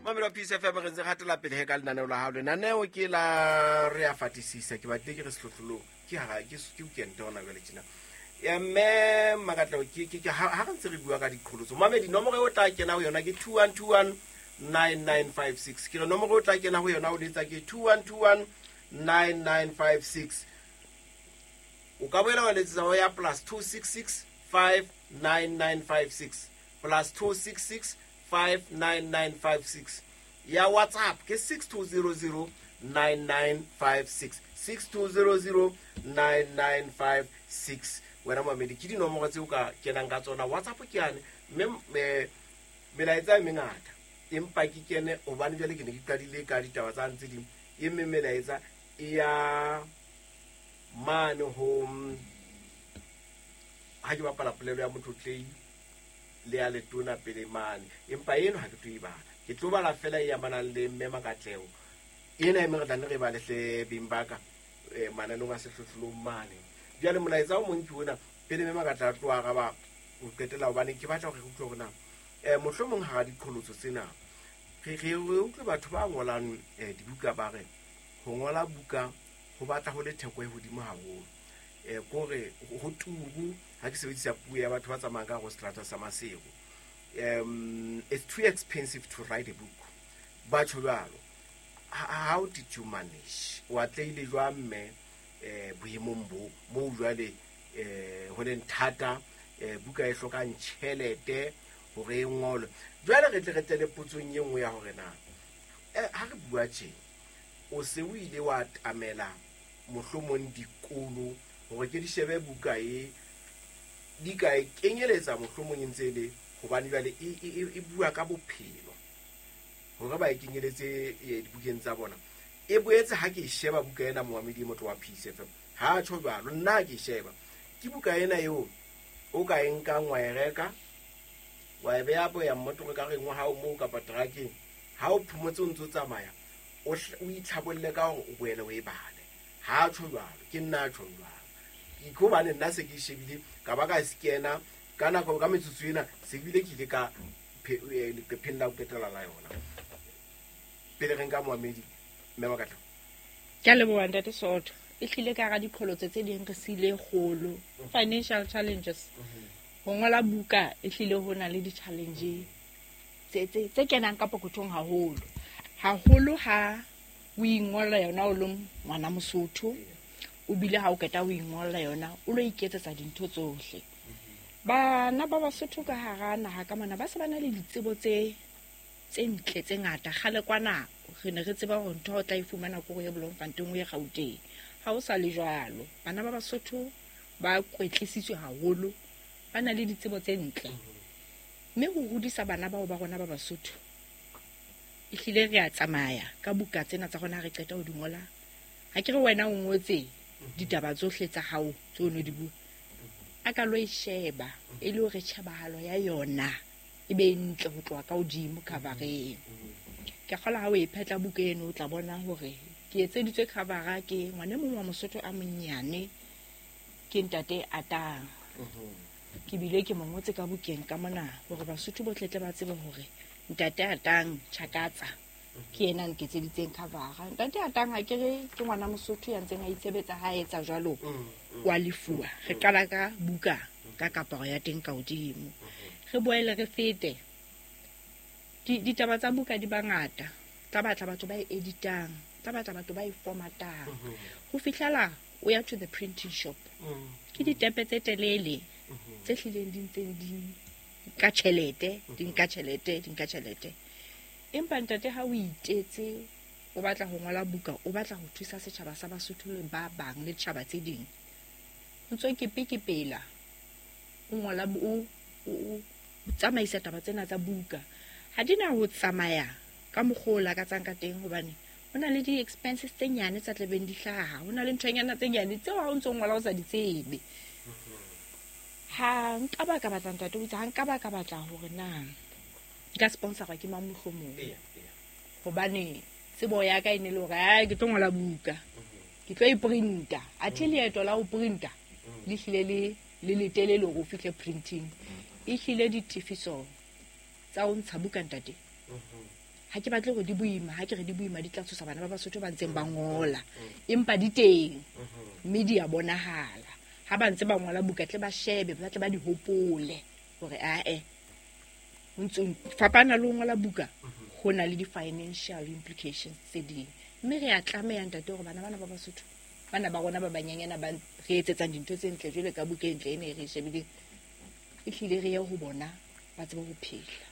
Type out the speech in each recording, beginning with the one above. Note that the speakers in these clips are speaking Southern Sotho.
Mamelo Peace FM, re ntse re hatela pele he ka lenaneo la hao. Lenaneo ke la re a fatisisa, ke batlile ke re sehlohlolong, ke hara ke weekend hona jwale tjena. Ya mme Makatleho, ke ha re ntse re bua ka diqholotso. Mamedi, nomoro eo o tla kena ho yona ke 2121 9956. Ke re nomoro o tla kena ho yona o letsa ke 2121 9956. O ka boela wa letsetsa ho ya +266 59956, +266 59956. Ya WhatsApp ke 6200 9956, 6200 9956. Wena mamedi, ke dinomoro tse o ka kenang ka tsona. WhatsApp ke yane, mme melaetsa e mengata, empa ke kene hobane jwale ke ne ke qadile ka ditaba tsa ntse ding. E mme melaetsa e ya mane ho ha ke bapala polelo ya motlotlei le ya letona pele mane, empa eno ha ke tlo e bala, ke tlo bala fela e amanang le mme Makatleho ena e meng re tla nne re bale hle beng ba ka mananeng a sehlohlolong mane. Jwale molaetsa o mong ke ona pele mme Makatleho a tlo araba ho qetela, hobane ke batla hore re utlwe hore na mohlomong hara diqholotso tsena re utlwe batho ba ngolang dibuka ba re ho ngola buka ho batla ho le theko e hodimo haholo, kore ho turu, ha ke sebedisa puo ya batho ba tsamayang ka hare ho seterata sa Maseru, it's too expensive to write a book, batho jwalo. How did you manage? O atlehile jwang mme boemong bo moo jwale ho leng thata, buka e hlokang tjhelete hore e ngolwe? Jwale re tle re tle le potsong e nngwe ya hore na ha re bua tje, o se o ile wa tamela mohlomong dikolo hore ke di shebe buka e di ka e kenyeletsa mohlomong e ntse e le, hobane jwale e bua ka bophelo, hore ba e kenyeletse dibukeng tsa bona? E boetse ha ke e sheba buka ena, moamedi e motlo wa Peace FM, ha tjho jwalo, nna ha ke e sheba ke buka ena eo o ka e nkang, wa e reka, wa e beha boya mmotoro ka reng wa hao moo kapa terakeng, ha o phomotse o ntse o tsamaya, o itlhabolle ka hore o boele o e bale. Ha tjho jwalo, ke nna a tjhong jwalo, ke hobane nna se ke e shebile ka ba ka scanna ka nako ka metsotso ena, se bile ke ile ka leqepheng la ho qetela la yona. Pele re nka moamedi, mme Makatla. Ke a leboha, ntate Soto. E hlile ka hara diqholotso tse ding re siile kgolo, financial challenges. Ho ngola buka e hlile ho na le di-challenge tse kenang ka pokothong haholo haholo ha o ingolla yona o le ngwana Mosotho, o bile ha o qeta o ingolla yona o lo iketsetsa dintho tsohle. Bana ba Basotho ka hara naha ka mona ba se ba na le ditsebo tse ntle tse ngata. Kgale kwana re ne re tseba hore ntho o tla e fumana ko ye Bloemfontein, o ye Gauteng. Ha o sa le jwalo, bana ba Basotho ba kwetlisitswe haholo, ba na le ditsebo tse ntle, mme ho hodisa bana bao ba rona ba Basotho ehlile re a tsamaya ka buka tsena tsa rona. Ha re qeta ho di ngola, ha ke re wena o ngotse ditaba tsohle tsa hao tse o no di bua, a ka lo e sheba e le hore tjhebahalo ya yona e be ntle ho tloha ka hodimo covereng. Ke kgola ha o e phetla buka eno, o tla bona hore ke etseditswe covera ke ngwana e mong wa Mosotho a monyane, ke ntate Atang. Ke bile ke mo ngotse ka bukeng ka mona hore Basotho bohle tle ba tsebe hore ntate Atang Chakatsa ke yena a nketseditseng covera. Ntate Atang, ha ke re ke ngwana Mosotho ya ntseng a itshebetsa, ha a etsa jwalo wa lefuwa. Re qala ka buka ka kaparo ya teng ka hodimo, re boele re fete. Ditaba tsa buka di bangata, tla batla batho ba e editang, tla batla batho ba e formatang ho fihlela o ya to the printing shop. Ke ditepe tse telele tse hlileng di ntseng di nka tjhelete, di nka tjhelete, di nka tjhelete. Empa ntate, ha o itetse o batla ho ngola buka, o batla ho thusa setjhaba sa Basotho le ba bang le tjhaba tse ding, o ntso kepe-kepela, o ngola, o tsamaisa taba tsena tsa buka, ha di na ho tsamaya ka mokgwa o lakatsang ka teng, hobane ho na le di-expenses tse nyane tsa tlabeng di hlaha, ho na le nthonyana tse nyane tseo ha o ntso ngola o sa di tsebe. Ha nka ba ka batla, ntate o itse, ha nka ba ka batla hore na nka sponsora ke mang mohlomong, hobane tsebo ya ka e ne le hore ai, ke tlo ngola buka, ke tlo e printa, athe leeto la ho printa le hlile le letelele hore o fihle printing. E hlile ditefiso tsa ho ntsha buka, ntate, Ha ke batle hore di boima, ha ke re di boima di tla tshosa bana ba Basotho ba ntseng ba ngola. Empa di teng, mme di a bonahala. Ha ba ntse ba ngola buka tle ba shebe, ba tle ba di hopole hore ae ho ntso fapana le ho ngola buka, ho na le di-financial implications tse ding. Mme re a tlameha ntate hore bana bana ba Basotho, bana ba rona ba banyenyana ba re etsetsang dintho tse ntle jwale ka buka e ntle ena e re e shebileng, ehlile re ye ho bona ba tsebe ho phela.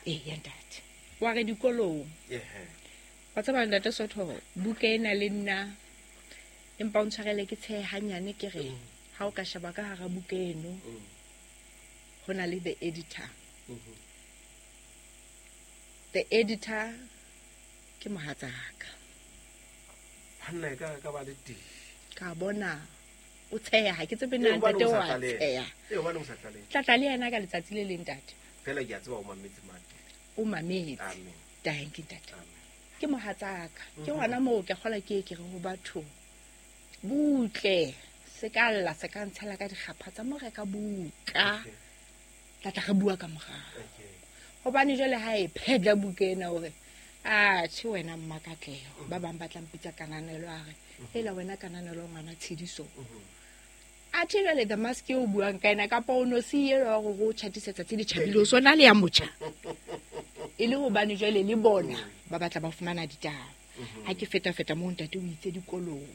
Eya ntate. Wa re dikolong. Wa tseba ntate Sotho, buka ena le nna empa o ntshwarele ke tshehe hanyane ke re ha o ka sheba ka hara buka eno, ho na le the editor. The editor ke mohatsaka. Hanna e ka ba le teng. Ka bona o tsheha, ha ke tsebe na ntate wa tsheha. Hobane o sa tlaleha. Tla tla le yena ka letsatsi le leng ntate. Fela ke a tseba o mametse mate. O mametse. Amen. Thank you ntate. Amen. Ke mohatsaka. Ke hona moo ke kgola ke ke re ho batho butle, se ka lla, se ka ntshela ka dikgapha tsa mo reka buka. Tla tla re bua ka morao. Hobane jwale ha e phedla buka ena hore a tjhe wena Mmakatleho, ba bang ba tla mpitsa Kananelo, a re hela wena Kananelo ngwana Tshidiso. A tjhe jwale the mask eo o buang ka ena kapa o no se elo wa hore o tjhatisetsa tse di tjhabile, o sona le ya motjha. E le hobane jwale le bona ba batla ba fumana ditaba. Ha ke feta-feta moo ntate o itse dikolong.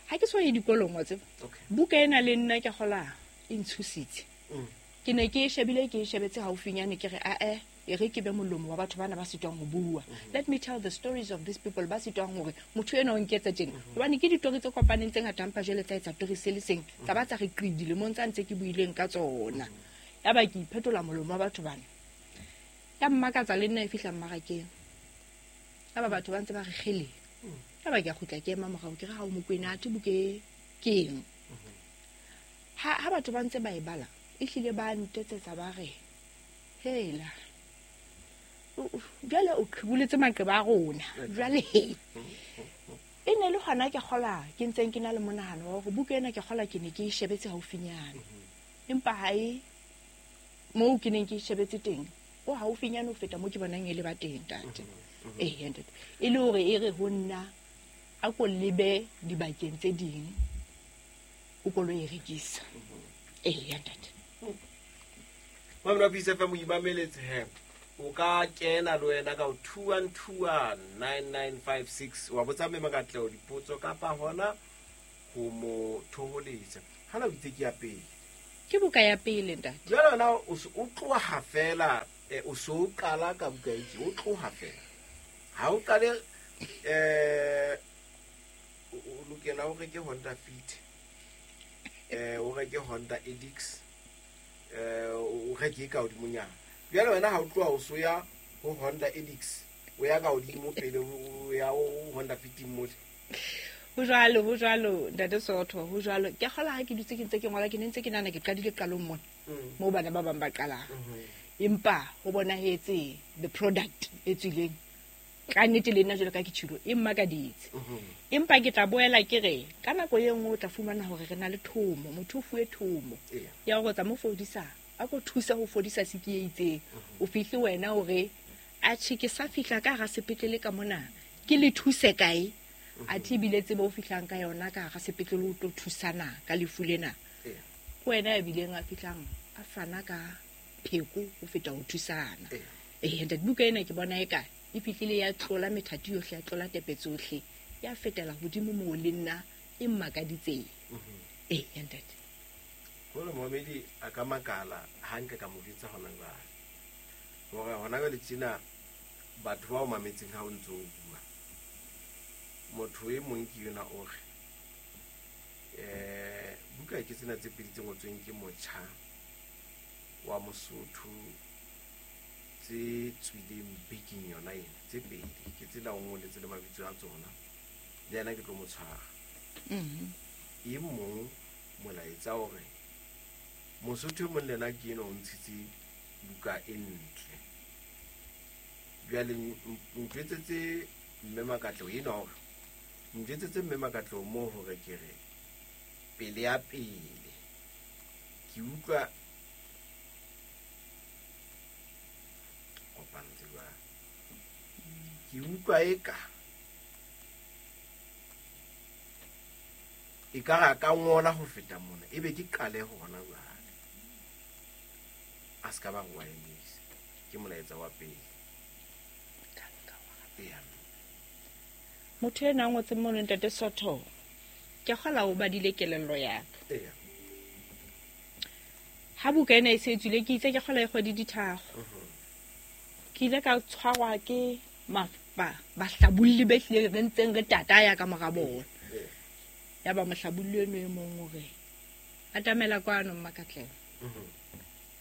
Ha ke so ye dikolong wa tseba. Buka ena le nna ke kgola e ntshositse. Ke ne ke e shebile, ke e shebetse haufinyane, ke re ae e re ke be molomo wa batho bana ba sitwang ho bua. Let me tell the stories of these people ba sitwang hore motho ena o nketsa tjena. Hobane ke ditori tse kopaneng tse ngata, empa jwale tsa etsa tori se le seng, tsa ba tsa re qidi lemong tsa ntse ke buileng ka tsona. Yaba ke iphetola molomo wa batho bana. Ya mmakatsa le nna e fihla mmarakeng. Yaba batho ba ntse ba re kgele. Yaba ke a kgutla ke ema morao, ke re ha o Mokwena, athe buka e ke eng? Ha batho ba ntse ba e bala, ehlile ba ntetsetsa ba re hela jwale o qhiboletse maqeba a rona. Jwale e ne le hona ke kgola ke ntseng ke na le monahano wa hore buka ena ke kgola ke ne ke e shebetse haufinyane, empa ha e moo ke neng ke e shebetse teng o haufinyane ho feta moo ke bonang e le ba teng ntate. Ntate, e le hore e re ho nna a ko lebe dibakeng tse ding o ko lo e rekisa. Ntate. Mamela Peace FM, o imameletse he. O ka kena le wena ka 21219956 wa botsa Mme Makatleho dipotso kapa hona ho mo thoholetsa. Hana o itse ke ya pele. Ke buka ya pele ntate. Jwale wena o se o tloha fela, o se o qala ka buka e tje, o tloha fela. Ha o qale, o lokela o reke Honda Fit, o reke Honda Edix, o reke ka hodimonyana. Jwale wena ha o tloha o so ya ho Honda Edix, o ya ka hodimo pele o ya ho Honda Fit mole. Ho jwalo, ho jwalo ntate Sotho, ho jwalo. Ke kgola ha ke dutse ke ntse ke ngola, ke ne ntse ke nahana ke qadile qalong mona, moo bana ba bang ba qalang. Empa ho bonahetse the product e tswileng ka nnete le nna jwalo ka ke tjhilo, e mmakaditse. Empa ke tla boela ke re ka nako e nngwe o tla fumana hore re na le thomo, motho o fuwe thomo ya hore tsa mo fodisa, a ko thusa ho fodisa siki e itseng. O fihle wena hore a tjhe ke sa fihla ka hara sepetlele ka mona, ke le thuse kae? Athe ebile tsebo o fihlang ka yona ka hara sepetlele o tlo thusana ka lefu lena. Ke wena ya bileng a fihlang a fana ka pheko ho feta ho thusana. Ntate, buka ena ke bona eka e fihlile ya tlola methati yohle, ya tlola tepe tsohle, ya fetela hodimo moo le nna e mmakaditseng. Ntate. Hore momedi a ka makala ha nka ka mo jwetsa hona jwale. Hore hona jwale tjena batho ba o mametseng ha o ntso o bua. Motho e mong ke yona o re, buka ke tsena tse pedi tse ngotsweng ke motjha wa Mosotho tse tswileng bekeng yona ena, tse pedi ke tsela o ngoletse le mabitso a tsona, le yena ke tlo mo tshwara. E mong molaetsa hore Mosotho e mong le yena ke enwa o ntshitse buka e ntle. Jwale ntjwetsetse Mme Makatleho enwa hore, ntjwetsetse Mme Makatleho moo hore ke re pele ya pele ke utlwa kopantse jwang. Ke utlwa eka e ka ra ka ngola ho feta mona, ebe ke qale hona jwale. A se ka ba re wa emisa. Ke molaetsa wa pele. Eya. Motho ena a ngotseng mono, ntate Sotho, ke kgola o badile kelello ya ka. Eya. Ha buka ena e se e tswile, ke itse ke kgola e kgwedi di tharo. Ke ile ka tshwarwa ke bahlabolli be hlile re ntseng re tataya ka mora bona. Ya ba mohlabolli eno e mong o re, atamela kwano Mmakatleho.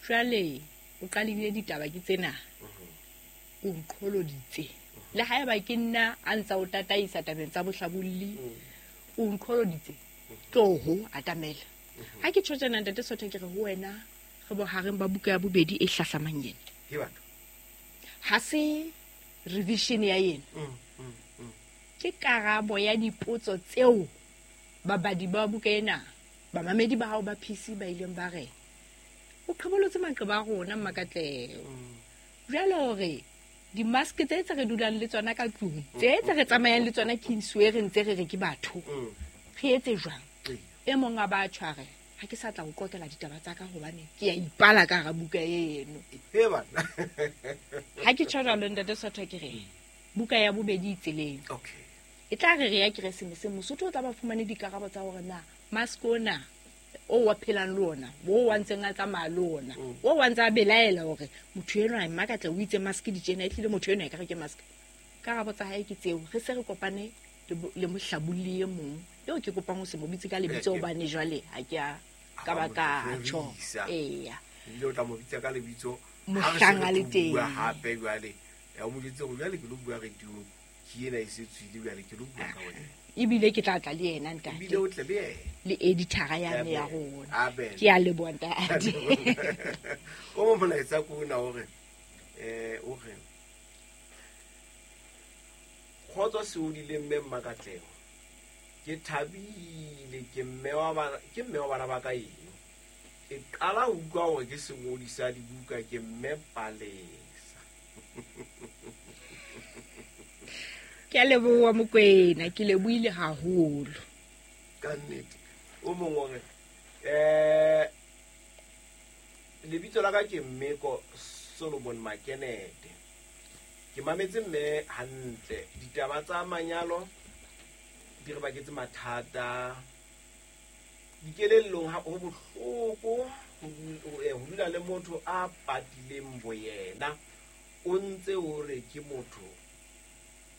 Jwale o qalile ditaba ke tsena. O nqholoditse. Le haeba ke nna a ntsa o tataisa tabeng tsa bohlabolli, o nqholoditse. Tloho atamela. Ha ke tjho tjena ntate Sotho, ke re ho wena re bohareng ba buka ya bobedi e hlahlamang ena. Ke batho. Ha se revision ya ena. Ke karabo ya dipotso tseo babadi ba buka ena, bamamedi ba hao ba PC ba ileng ba re o qhebolotse maqeba a rona Mmakatleho. Jwale hore di-mask tse tse re dulang le tsona ka tlung, tse tse re tsamayang le tsona Kingsway re ntse re re ke batho, re etse jwang? E mong a ba tshware, ha ke sa tla o qoqela ditaba tsa ka hobane ke a ipala ka hara buka eno. He bana. Ha ke tjho jwalo ntate Sotho, ke re buka ya bobedi e tseleng. Okay. E tla re re ya Keresemese, Mosotho o tla ba fumane dikarabo tsa hore na mask ona o wa phelang le ona, o wa ntseng a tsamaya le ona, o wa ntse a belaela hore motho enwa Mmakatleho o itse mask di tjena, ehlile motho enwa ekare ke mask. Karabo tsa hae ke tseo. Re se re kopane le mohlabolli e mong eo ke kopang ho se mo bitse ka lebitso hobane jwale ha ke a ka ba ka tjho. Eya. Ebile o tla mo bitsa ka lebitso mohlang a le teng. Bua hape jwale. Ya o mo jwetse hore jwale ke lo bua radio, ke ena e se tswile jwale ke lo bua ka wena. Ebile ke tla tla le yena ntate. Ebile o tle le yena. Le editor-a yane ya rona. Amen. Ke a leboha ntate. O mo molaetsa ko ona hore, o re kgotso se o dileng mme Mmakatleho. Ke thabile, ke mme wa bana, ke mme wa bana ba ka eng. Ke qala ho utlwa hore ke sengodi sa dibuka, ke mme Palesa. Ke a leboha Mokwena, ke lebohile haholo. Ka nnete. O mong o re, lebitso la ka ke Mmeko Solomon Makenete. Ke mametse mme hantle. Ditaba tsa manyalo di re baketse mathata. Dikelellong ha ho bohloko ho dula le motho a patileng boyena. O ntse o re ke motho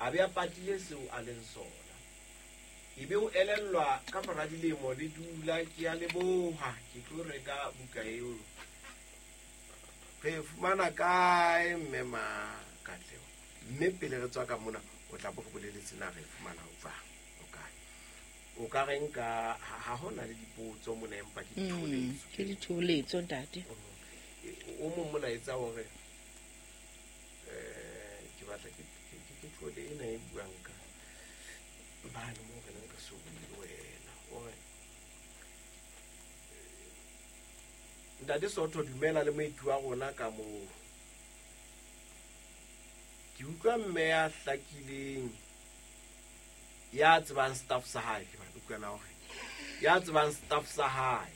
a be a patile seo a leng sona. Ebe o elellwa ka mora dilemo le dula, ke a leboha, ke tlo reka buka eo. Re fumana kae mme Makatleho? Mme pele re tswa ka mona, o tla bo re boleletse na re fumana ho jwang, o kae? O ka reng ka ha hona le dipotso mona, empa ke ditholetso. Ke ditholetso ntate. O mong molaetsa hore, ke batla ke thole ena e buang ka bane moo re neng re so bue le wena. O re, Ntate Sotho, dumela le moeti wa rona ka moo. Ke utlwa mme ya hlakileng, ya tsebang staff sa hae, ke batla utlwa na hore ya tsebang staff sa hae.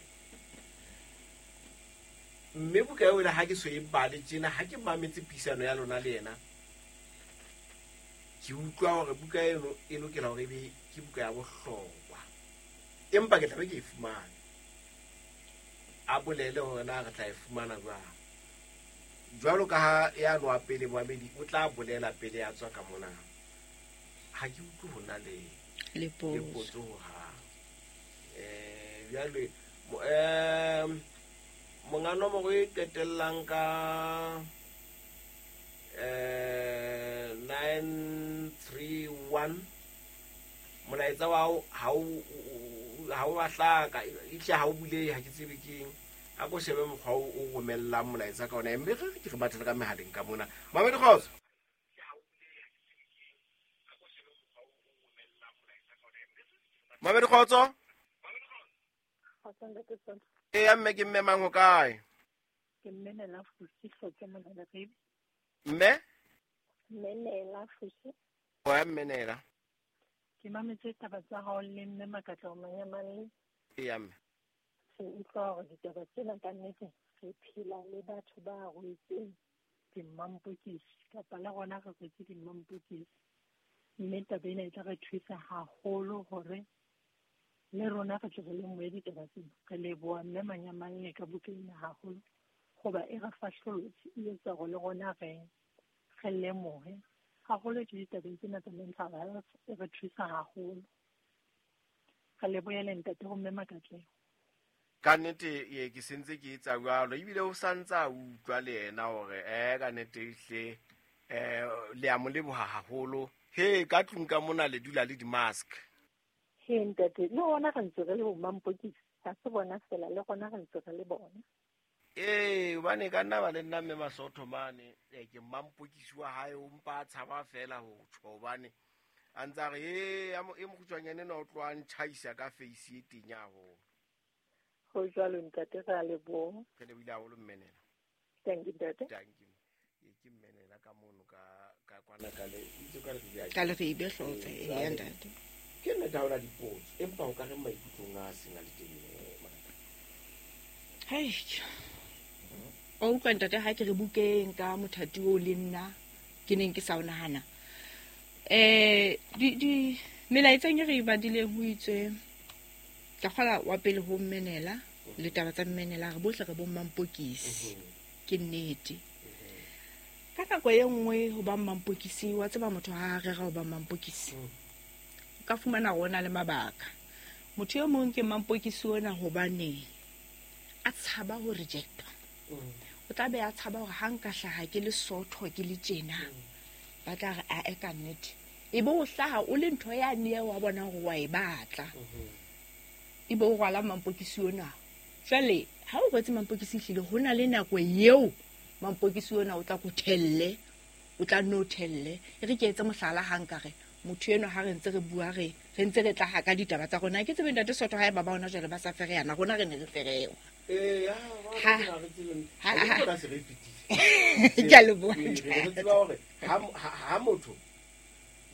Mme buka eo le ha ke so e bale tjena, ha ke mametse puisano ya lona le yena, ke utlwa hore buka eno e lokela hore ebe ke buka ya bohlokwa. Empa ke tla be ke e fumane. A bolele hore na re tla e fumana jwang. Jwalo ka ha ya nwa pele moamedi o tla bolela pele a tswa ka mona. Ha ke utlwe ho na le Le potso. le potso hohang. Jwale, monga nomoro e qetellang ka, 931, molaetsa wa hao ha o a hlaka, ehlile ha o bulehe, ha ke tsebe ke eng. A ko shebe mokgwa o romellang molaetsa ka ona, mme re ke re batle ka mehaleng ka mona. Mamedi kgotso. Mamedi kgotso. Kgotso, ntate Sotho. Eya, mme ke mme mang ho kae? Ke mme Nela Fusi, Hlotse mona Leribe. Mme? Menela fusi. Wa menela. Ke mametse taba tsa hao le mme Makatleho Manyamalle. Eya mme. Re utlwa hore ditaba tsena ka nnete re phela le batho ba rwetseng dimampokisi kapa le rona re rwetse dimampokisi. Mme taba ena e tla re thusa haholo hore le rona re tle re lemohe ditaba tsena. Re leboha mme Manyamalle ka buka ena haholo hoba e re fahlolotse, e etsa hore le rona re lemohe haholo ke ditabeng tsena tsa mental health, e re thusa haholo. Re lebohele ntate ho mme Makatleho. Ka nnete ye ke sentse ke etsa jwalo ebile o santsa utlwa le yena hore ka nnete hle le a mo leboha haholo. He ka tlung ka mona le dula le di-mask. He ntate, le rona re ntse re le bo mampokisi, ha se bona fela, le rona re ntse re le bona. Hobane ka nna ba le nna mme Masotho mane, ke mampokisi wa hae o mpa a tshaba fela ho tjho hobane a ntsa re e mokgutshwanyane ena o tloha ntjhaisa ka face e tenya haholo. Ho jwalo ntate, re a leboha. Re lebohile haholo mmenela. Thank you ntate. Thank you. Ke mmenela ka mono ka kwana ka le itse ka re ka le re be hlotse ya ntate. Ke nna ha ona dipotso empa o ka re maikutlong a seng a le teng Makatleho. Hei. O utlwa ntate ha ke re bukeng ka mothati o le nna ke neng ke sa o nahana. Di melaetseng e re e badileng ho itswe ka kgola wa pele ho mmenela le taba tsa mmenela re bohle re bo mampokisi. Ke nnete. Ka nako e nngwe ho ba mampokisi wa tseba motho ha a rera ho ba mampokisi. O ka fumana rona le mabaka. Motho e mong ke mampokisi ona hobane a tshaba ho rejectwa. O tla be a tshaba hore ha nka hlaha ke le sotho ke le tjena ba tla re a e ka nnete. E be o hlaha o le ntho ya nne wa bona hore wa e batla. E be o rwala mampokisi ona. Jwale ha o rwetse mampokisi hlile ho na le nako eo mampokisi ona o tla ko thelle, o tla no thelle. E re ke etse mohlala ha nka re motho eno ha re ntse re bua re ntse re tla ha ka ditaba tsa rona. Ke tsebe ntate Sotho ha e ba ba hona jwale ba sa fereyana, rona re ne re ferewa. Ha se re fetile. Ke a leboha. Re tseba hore ha motho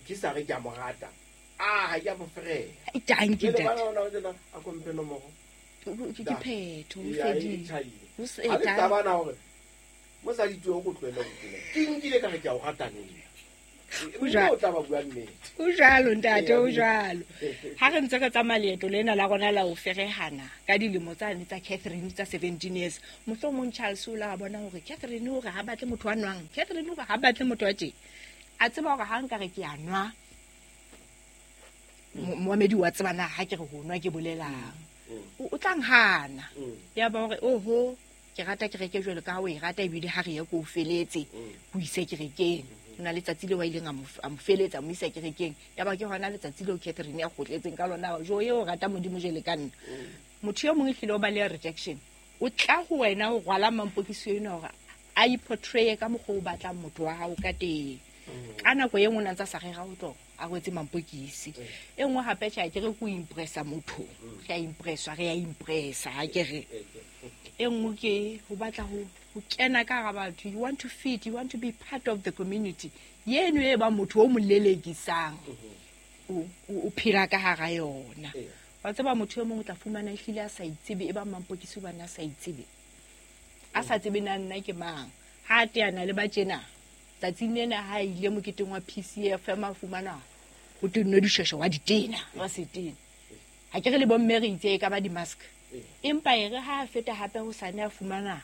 ke sa re ke a mo rata, ha ke a mo fereya. Thank you ntate. A komphe nomoro. Ke phetho ho fedile. Ho se Ha le taba na hore mosadi twe o go tlohele ho tena. Ke nkile ka re ke a o rata neng. O tla ba bua nnete. O jwalo ntate, o jwalo. Ha re ntse re tsamaya leeto lena la rona la ho ferehana ka dilemo tsane tsa Catherine tsa 17 years. Mohlomong Charles o la bona hore Catherine o re ha batle motho wa nwang, Catherine o re ha batle motho wa tje. A tseba hore ha nka re ke a nwa. Moamedi wa tseba na ha ke re ho nwa ke bolelang. O tla nhana. Ya ba hore oho ke rata kereke jwalo ka ha o e rata ebile ha re ye ko o feletse ho ise kerekeng. Ho na letsatsi leo a ileng a mo feletsa mo isa kerekeng. Ya ba ke hona letsatsi leo Catherine a kgotletseng ka lona jo eo o rata Modimo jwale ka nna. Motho e mong ehlile o ba le rejection. O tla ho wena o rwala mampokisi ena hore a iportray ka mokgwa o batlang motho wa hao ka teng. Ka nako e nngwe o ntsa sa rera ho tlo a rwetse mampokisi. E nngwe hape tjhe ke re ko impressa motho. Re a impresswa, re a impressa ha ke re. E nngwe ke ho batla ho kena ka hara batho. You want to fit, you want to be part of the community. Yeno e ba motho o mo lelekisang. O phela ka hara yona. Wa tseba motho e mong o tla fumana ehlile a sa itsebe, e ba mampokisi hobane a sa itsebe. A sa tsebe na nna ke mang. Ha a teana le ba tjena. Tsatsing lena ha ile moketeng wa PCF a fumana ho tennwe dishweshwe wa ditena, wa setena. Ha ke re le bomme re itse e ka ba di-mask. Empa e re ha a feta hape ho sane a fumana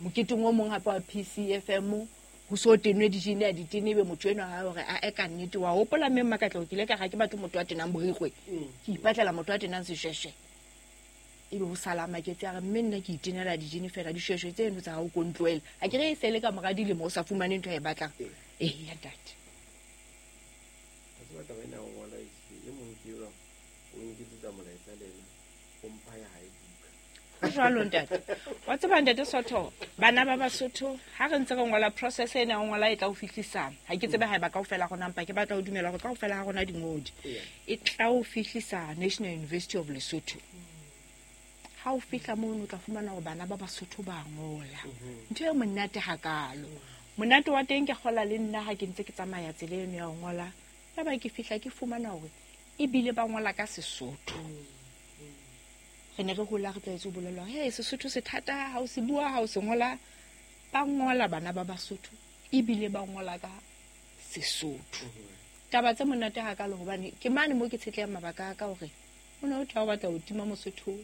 moketeng o mong hape wa PCFM ho so tenwe dijini a ditene ebe motho enwa ha hore a e ka nnete wa hopola mme Makatleho ke ile ka ga ke batho motho wa tenang borikgwe. Ke ipatlela motho wa tenang seshweshwe. Ebe ho sala maketse a re mme nna ke itenela dijini fela dishweshwe tseno tsa hao ko ntlohele. Ha ke re e se le ka mora dilemo o sa fumane ntho e batlang. Ya ntate. Ha tseba taba ena o ngola e mong ke eo o nketsetsa molaetsa le ena o mpha ya hae buka. Ho jwalo ntate. Wa tseba ntate Sotho, bana ba Basotho ha re ntse re ngola process ena o ngola e tla o fihlisa. Ha ke tsebe haeba kaofela rona mpa ke batla ho dumela hore kaofela ha rona dingodi. E tla o fihlisa National University of Lesotho. Ha o fihla mono o tla fumana hore bana ba Basotho ba ngola. Ntho e monate hakalo. Monate wa teng ke kgola le nna ha ke ntse ke tsamaya tsela eno ya ho ngola, ya ba ke fihla ke fumana hore ebile ba ngola ka Sesotho. Re ne re hola re tlwaetse ho bolellwa hore hey, Sesotho se thata ha o se bua, ha o se ngola. Ba ngola bana ba Basotho ebile ba ngola ka Sesotho. Taba tse monate hakalo hobane ke mane mo ke tshetlehang mabaka a ka hore o ne o tla o batla ho tima Mosotho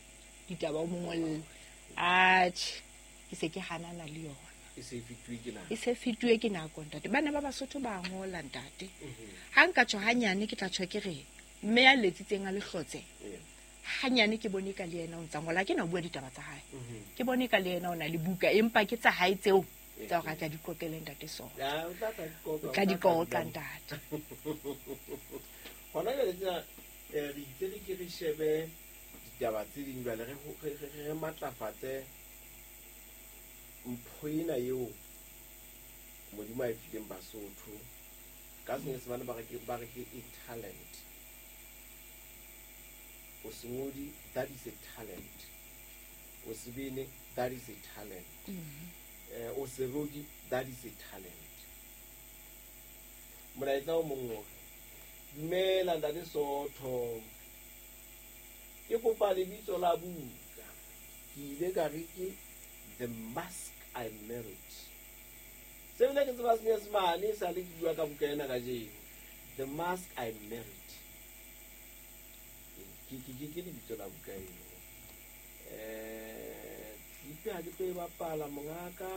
ditaba o mo ngolle. Atjhe, ke se ke hanana le yona. E se fetuwe ke nako. E se fetuwe ke nako, ntate. Bana ba Basotho ba ngola, ntate. Ha nka tjho hanyane ke tla tjho ke re mme ya letsitseng a lehlotse. Hanyane ke bone ka le yena o ntsa ngola, ke na bua ditaba tsa hae. Ke bone ka le yena o na le buka, empa ke tsa hae tseo tsa hore a tla di qoqele ntate sona. Ya, o tla tla di qoqa, O tla di qoqa, ntate. Hona jwale tsena, re itse re ke re shebe ditaba tse ding jwale, re matlafatse mpho ena eo Modimo a e fileng Basotho. Ka Senyesemane ba re ke a talent. O sengodi, that is a talent. O sebene, that is a talent. O seroki, that is a talent. Molaetsa o mong o re, dumela ntate Sootho, ke kopa lebitso la buka. Ke ile ka re ke The Mask I Married. Se bile ke tseba Senyesemane, sa le ke bua ka buka ena kajeno. The Mask I Married. Ke lebitso la buka eno. Clip ha ke tlo e bapala mongaka.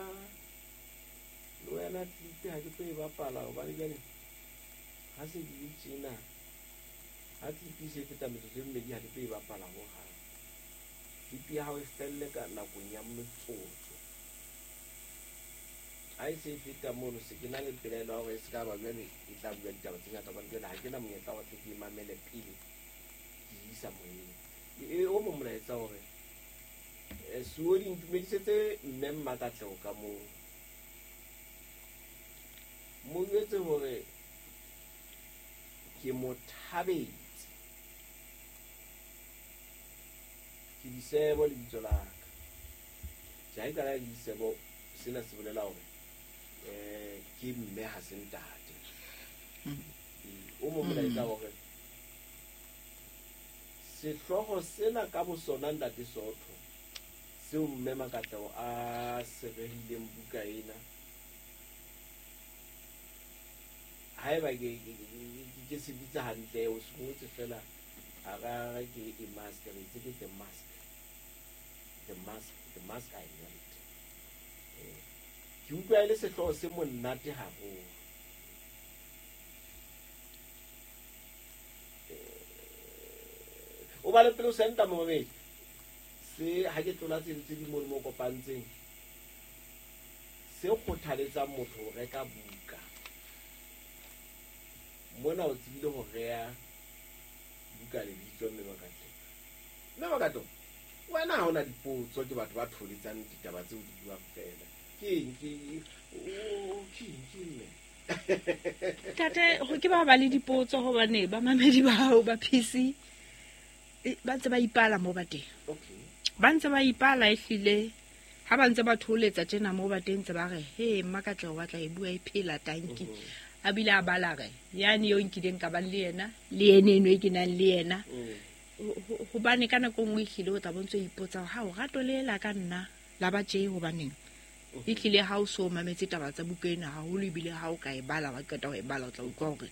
Le wena clip ha ke tlo e bapala hobane jwale ha se di le tjena. Ha clip e se feta metsotso e mmedi ha ke tlo e bapala hohang. Clip ya hao e felle ka nakong ya motsotso. Ha e se e feta mono, se ke na le pelaelo ya hore e se ka ba jwale e tla bua ditaba tse ngata hobane jwale ha ke na monyetla wa hore ke mamele pele ke isa moyeng. E o mong molaetsa hore Suodi ntumedisetse mme Mmakatleho ka moo. Mo jwetse hore ke mo thabetse. Ke Disebo lebitso la ka. Tjhe, ha e qala Disebo, sena se bolela hore ke mme ha se ntate. O mo molaetsa hore sehlooho sena ka bosona ntate Sootho seo mme Makatleho a se rehileng buka ena, haeba ke se bitsa hantle, o se ngotse fela a ra ke e mask, re itse ke the mask, the mask, the mask I married. Ke utlwa e le sehlooho se monate haholo. O ba le pele o senta momamedi. Se ha ke tlola tse di mo mo kopantseng, se kgothaletsang motho ho reka buka. Mona o tsebile ho reha buka lebitso mme Makatleho. Mme Makatleho, wena ha hona dipotso ke batho ba tholetsang ditaba tseo di buang fela. Ke eng ke mme? Tate, ho ke ba le dipotso hobane ba mamedi ba hao ba PC ba ntse ba ipala mo ba teng. Okay. Ba ntse ba ipala ehlile ha ba ntse ba tholetsa tjena mo ba teng ntse ba re he Mmakatleho wa tla e bua e phela tanki. A bile a bala re yani yo nkileng ka ba le yena le ene eno e ke nang le yena. Hobane ka nako nngwe ehlile o tla bontse o ipotsa ha o rato le la ka nna la ba tje hobaneng. Ehlile ha o so mametse taba tsa buka ena haholo ebile ha o ka e bala wa qeta ho e bala o tla utlwa hore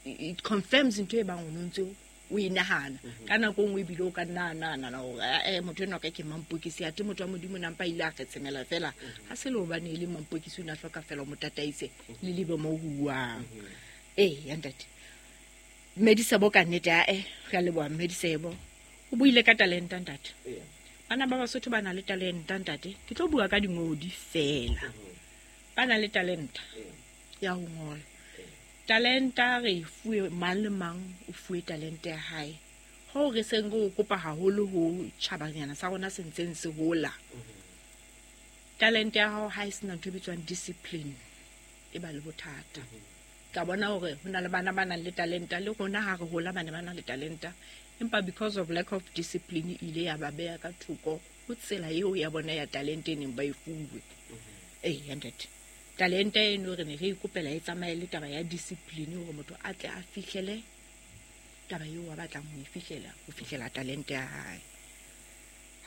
it confirms ntho e bang o ntse o e nahana. Ka nako nngwe ebile o ka nna nahana hore motho enwa ka ke mampokisi, athe motho wa Modimo nampa ile a kgetshemela fela. Ha se le hobane e le mampokisi o na hloka fela o mo tataise le lebe mo huwang. Ya ntate. Mmedisebo ka nnete re a leboha Mmedisebo. O buile ka talenta ntate. Bana ba Basotho ba na le talenta ntate. Ke tlo bua ka dingodi fela. Ba na le talenta ya ho ngola. Talenta re fuwe mang le mang o fuwe talente ya hae. Ho re seng re o kopa haholo ho tjhabanyana sa rona se ntseng se hola. Talente ya hao ha e sena ntho e bitswang discipline e ba le bothata. Ka bona hore ho na le bana ba nang le talenta le rona ha re hola bana ba nang le talenta, empa because of lack of discipline ile ya ba beha ka thoko ho tsela eo ya bona ya talente e neng ba e fuwe. Ya ntate. Talente eno re ne re ikopela e tsamaye le taba ya discipline hore motho a tle a fihlele taba eo a batlang ho e fihlela, ho fihlela talente ya hae.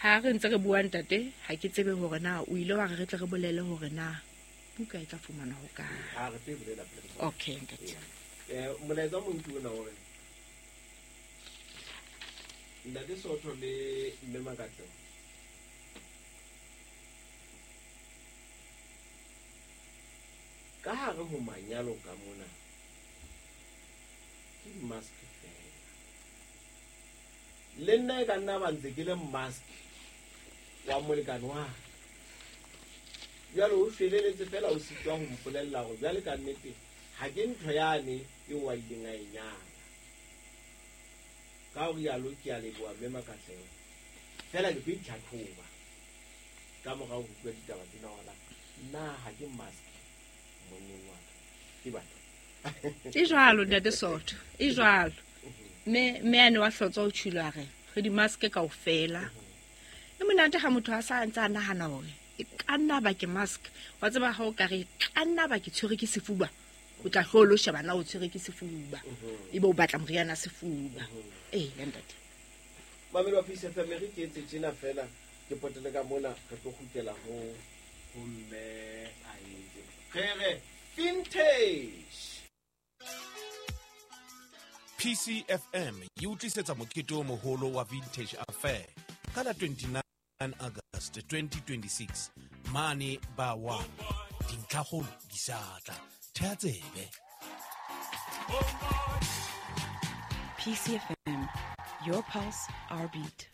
Ha re ntse re bua ntate, ha ke tsebe hore na o ile wa re re tle re bolele hore na buka e tla fumanwa ho kae. Ha re tlo e bolela pele. Okay ntate. Molaetsa o mong ke ona hore Ntate Sootho le Mme Makatleho ka hare ho manyalo ka mona ke di-mask fela. Le nna e ka nna ba ntse ke le mask wa molekane wa ka. Jwale o shweleletse fela o sitwa ho mpolella hore jwale ka nnete ha ke ntho yane eo a ileng a e nyala. Ka ho rialo ke a leboha Mme Makatleho. Fela ke tlo itlhatlhoba ka morao ho utlwa ditaba tsena hore na ha ke mask monneng wa ka. Ke batho. E jwalo ntate Sootho, e jwalo. Mme ane wa hlotsa o tjhilo a re re di-mask kaofela. E monate ha motho a sa ntse a nahana hore e ka nna ba ke mask. Wa tseba ha o ka re e ka nna ba ke tshwere ke sefuba, o tla hlo lo sheba na o tshwere ke sefuba. Ebe o batla moriana sefuba. Ee, ya ntate. Mamelo wa Peace FM, re ke etse tjena fela, ke potele ka mona, re tlo kgutlela ho mme a etse. Re re vintage. PCFM e utlwisetsa mokete o moholo wa Vintage Affair ka la 29 August 2026 mane ba wa dintlhakgolo di sa tla. Thea tsebe. PCFM, your pulse, our beat.